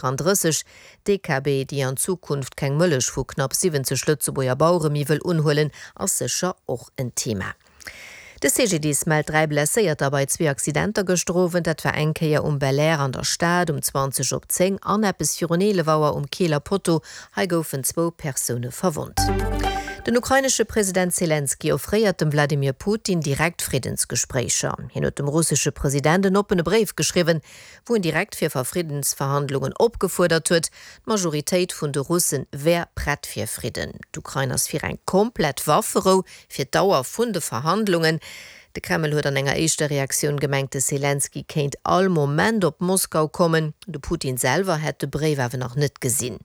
34, D'DKB, déi an Zukunft keng Mëllech vu knapp 70 Lëtzebuerger Bauere méi wëll unhuelen, ass sécher och en Thema. De CGDIS mellt 3 Blesséierter bei zwee Accidenter gëschter Owend. Dat war eng Kéier um Belair an der Stad um 20 op 10 an eppes virun 11 Auer um Keeler Potto. Hei goufen zwou Persoune verwonnt. Den ukrainesche President Selenskyj offréiert dem Wladimir Putin direkt Friddensgespréicher. Hien huet dem russesche President en oppene Bréif geschriwwen, wou en direkt fir Verfriddensverhandlungen opgefuerdert huet. D'Majoritéit vun de Russe wär prett fir Fridden. D'Ukrain ass fir eng komplett Wafferou fir d'Dauer vun de Verhandlungen. De Kreml huet an enger éischter Reaktioun gemengt, de Selenskyj kéint all Moment op Moskau kommen. De Putin selwer hätt de Bréif awer nach net gesinn.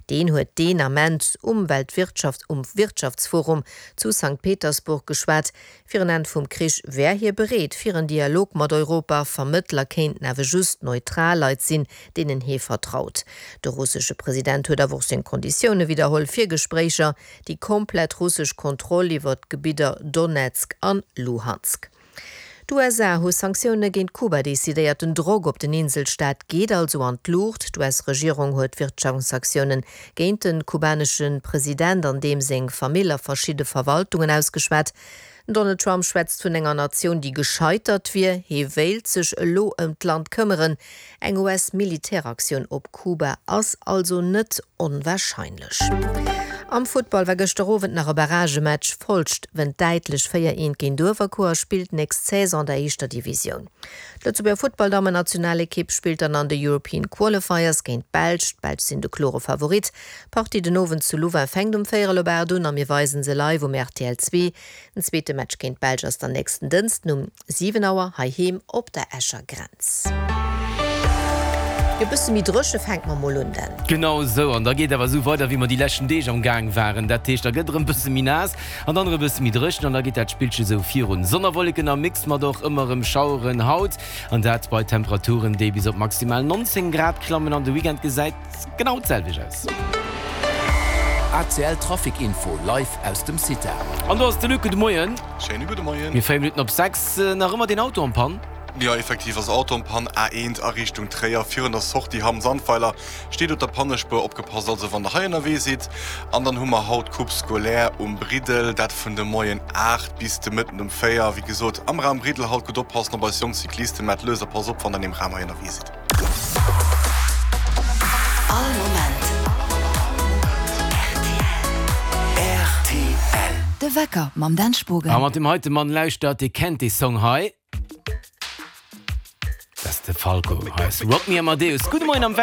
Deen huet deen Ament um Weltwirtschafts um Wirtschaftsforum zu Sankt Petersburg geschwat. Fir en Enn vum Krich wär hie bereet fir en Dialog mat Europa. Vermëttler kéinten awer just neutral Leit sinn, deenen hie vertraut. De russesche President huet awer och seng Konditioune widderholl fir Gespréicher, déi komplett russesch Kontroll iwwer d'Gebidder Donezk an Luhansk. D'USA hu Sanktioune géint Kuba decidéiert. Den Drock op den Inselstaat geet also an d'Luucht. D'US-Regierung huet Wirtschaftssanktioune géint de kubanesche President an deem seng Famill a verschidde Verwaltungen ausgeschwat. Den Donald Trump schwätzt vun enger Natioun, déi gescheitert wier. Hie wéilt sech elo ëm d'Land këmmeren. Eng US-Militäraktioun op Kuba ass also net onwarscheinlech. Am Futtball war gëschter Owend nach e Barragematch. Folscht wënnt däitlech 4, 1 géint Uewerkuer a spillt nächst Saison an der éischter Divisioun. D'Lëtzebuerger Futtballdammennationalekipp spillt dann an de European Qualifiers géint d'Belsch. D'Belsch sinn de klore Favorit. D'Partie den Owend zu Louvain fänkt um véierel op 8 un a mir weisen se live um rtl 2. Den zweete Match géint d'Belsch ass dann nächsten Dënsten um 7 Auer heiheem op der Escher Grenz. Jo, bësse méi dréche fänke mer mol un dann. Genau esou, an da geet awer esou weider wéi mer déi leschten Deeg am Gaang waren. Dat heescht, da gëtt erëm bësse méi naass an dann erëm bësse méi dréchen an da geet dat Spillche esou virun. Sonn a Wolleken am Mix mat och ëmmer erëm Schaueren haut an dat bei Temperaturen, déi bis op maximal 19 Grad klammen. An de Weekend gesäit genau d'selwecht aus. ACL Trafic Info live aus dem CITA. An do ass de Luc, gudde Moien. Schéine gudde Moien. Mir 4 Minutten op 6, nach ëmmer deen Auto en panne? Jo, effektiv ass Auto en panne, A1 a Richtung Tréier virun der Sortie Hamm-Sandweiler steet op der Pannespuer. Opgepasst also wann der hei ënnerwee sidd. An dann hu mer haut Coupe scolaire um Briddel, dat vun de Moien 8 bis de Mëtten um 4. Wéi gesot am Raum Briddel haut gutt oppassen op eis jonk Cyclisten, maacht lues a passt op wann der an deem Raum hei ënnerwee sidd. All Moment rtl. De Wecker mam Dan Spogen. A mat deem heite Mann lauschtert, dee kennt dee Song hei. Dat ass de Falco. Hei ass Rock Me Amadeus. Gudde Moien am Wecker.